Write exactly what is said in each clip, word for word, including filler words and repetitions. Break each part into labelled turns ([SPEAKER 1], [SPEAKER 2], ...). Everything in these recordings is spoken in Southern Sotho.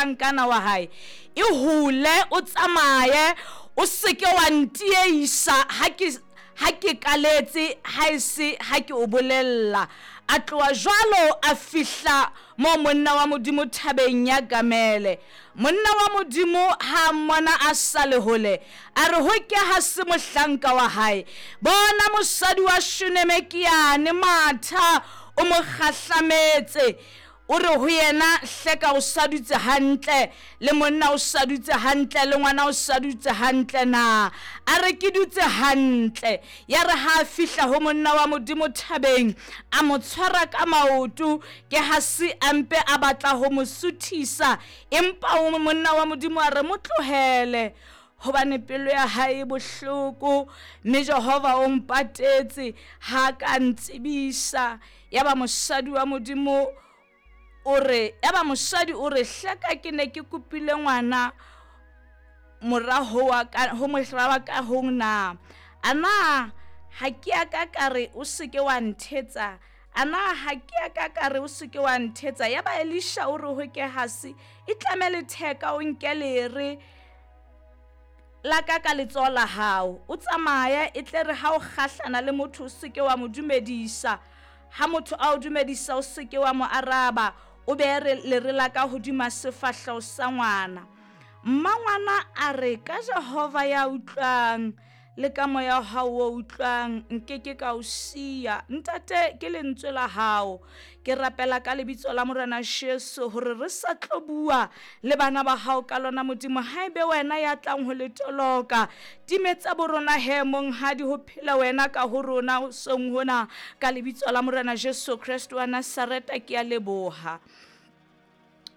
[SPEAKER 1] mohlankana wa hae, e hole o tsamaye, o seke wa ntieisa ha ke ha ke kaletse, ha e se ha ke o bolella. A tloha jwalo a fihla mo monna wa Modimo thabeng ya Gamele. Monna wa Modimo ha mmona a sa le hole, a re ho ke ha se mohlanka wa hae, bona mosadi wa Shuneme ke yane, matha o mo kgahlametse. O re ho yena, hleka o sa dutse hantle, le monna o sa dutse hantle, le ngwana o sa dutse hantle na? A re ke dutse hantle. Ya re ha a fihla ho monna wa Modimo thabeng, a mo tshwara ka maoto, ke ha se a mpe a batla ho mo suthisa, empa o monna wa Modimo a re mo tlohele, hobane pelo ya hae e bohloko, mme Jehova o mpatetse ha ka ntsebisa. Ya ba mosadi wa Modimo o re, ya ba mosadi o re, hleka ke ne ke kopile ngwana moraho wa ka, ho mohla wa ka ho na? Ana ha ke a ka ka re o seke wa nthetsa? Ana ha ke a ka ka re o seke wa nthetsa? Ya ba Elisha o re ho Gehasi, itlame letheka o nke lere la ka ka letsoho la hao, o tsamaye, e tle re ha o kgahlana le motho o seke wa mo dumedisa. Ha motho a o dumedisa o seke wa mo araba, o behe lere la ka hodima sefahleho sa ngwana. Mmangwana a re, ka Jehova ya utlwang le ka moya wa hao o utlwang, nkeke ka o siya. Ntate, ke lentswe la hao. Ke rapela ka lebitso la Morena Jesu hore re sa tlo bua le bana ba hao ka lona, Modimo. Haebe wena ya tlang ho le toloka, timetsa borona he monghadi, ho phela wena ka ho rona hoseng hona, ka lebitso la Morena Jesu Kreste wa Nazareta, ke a leboha.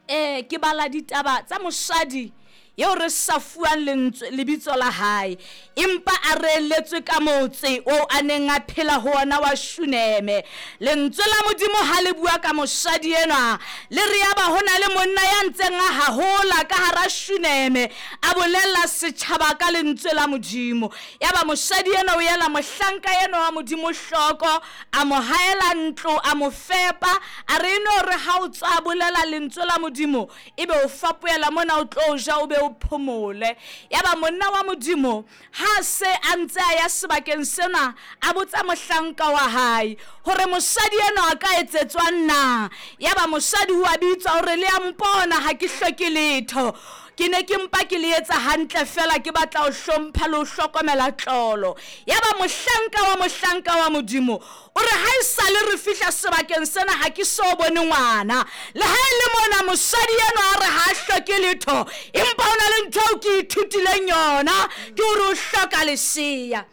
[SPEAKER 1] Eh, ke bala ditaba tsa mosadi eo re sa fuwang lentswe lebitso la hae, empa a reeletswe ka motse oo a neng a phela ho ona wa Shuneme. Lentswe la Modimo ha le bua ka mosadi enwa, le re yaba ho na le monna ya ntseng a hahola ka hara Shuneme, a bolella setjhaba ka lentswe la Modimo. Yaba mosadi enwa o ela mohlanka enwa wa Modimo hloko, a mo haela ntlo, a mo fepa, a re eno re ha o tswa bolela lentswe la Modimo, ebe o fapohela mona o tlo ja, o be o phomole. Yaba monna wa Modimo ha se a ntse a ya sebakeng sena, a botsa mohlanka wa hae hore mosadi enwa a ka etsetswang na. Yaba mosadi o a bitswa hore le a mpona, ha ke hloke letho, ke ne ke mpa ke le etsa hantle fela, ke batla ho hlompha le ho hlokomela tlolo. Yaba mohlanka wa mohlanka wa Modimo o re, ha esale re fihla sebakeng sena ha ke so bone ngwana. Le ha e le mona mosadi enwa a re ha a hloke letho, empa ho na le ntho eo ke ithutileng yona, ke hore o hloka lesea.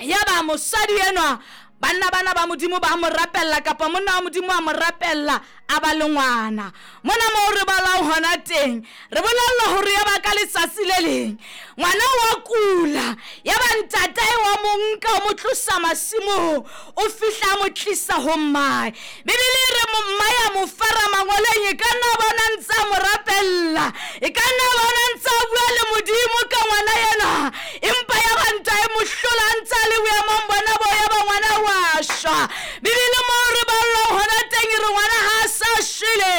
[SPEAKER 1] Yaba mosadi enwa, banna bana ba Modimo ba mo rapella, kapa monna wa Modimo a mo rapella, a ba le ngwana. Mona moo re balang hona teng, re bolellwa hore yaba ka letsatsi le leng ngwana wa kula, yaba ntatae wa mo nka o mo tlosa masimong, o fihla a mo tlisa ho mmae. Bibele e re mmae a mo fara mangoleng, e ka nna bona ntse a mo rapella, e ka nna bona ntse a bua le Modimo ka ngwana enwa, empa yaba ntae mo hlola ntse a le boemong bona bo, yaba ngwana wa shwa. Bibele moo re ballwang hona teng e re ngwana ha a sa shwele,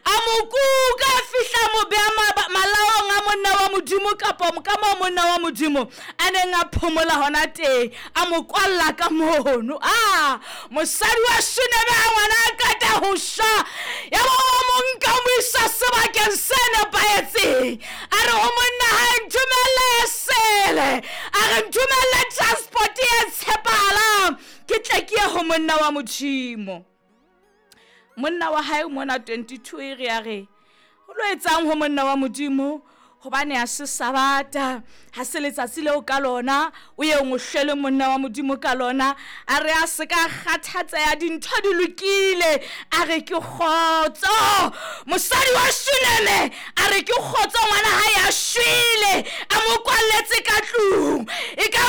[SPEAKER 1] a mo kuka, a fihla a mo beha malaong a monna wa Modimo, kapa ka moo monna wa Modimo a neng a phomola hona teng, a mo kwalla ka mono. Ah, mosadi wa Shuneme ha ngwana a qeta ho shwa, yaba wa mo nka o mo isa sebakeng se nepahetseng. A re ho monna hae, nthomelle esele, a re nthomelle transport e tshepahalang, ke tle ke ye ho monna wa Modimo. Monna wa hae mona twenty-two e re a re, o lo etsang ho monna wa Modimo? Hobane ha se Sabata, ha se letsatsi leo ka lona o ye o hlwele monna wa Modimo ka lona. A re a se ka kgathatseha, dintho di lokile. A re ke kgotso. Mosadi wa Shuneme a re ke kgotso, ngwana hae a shwele, a mo kwalletse ka tlung. E ka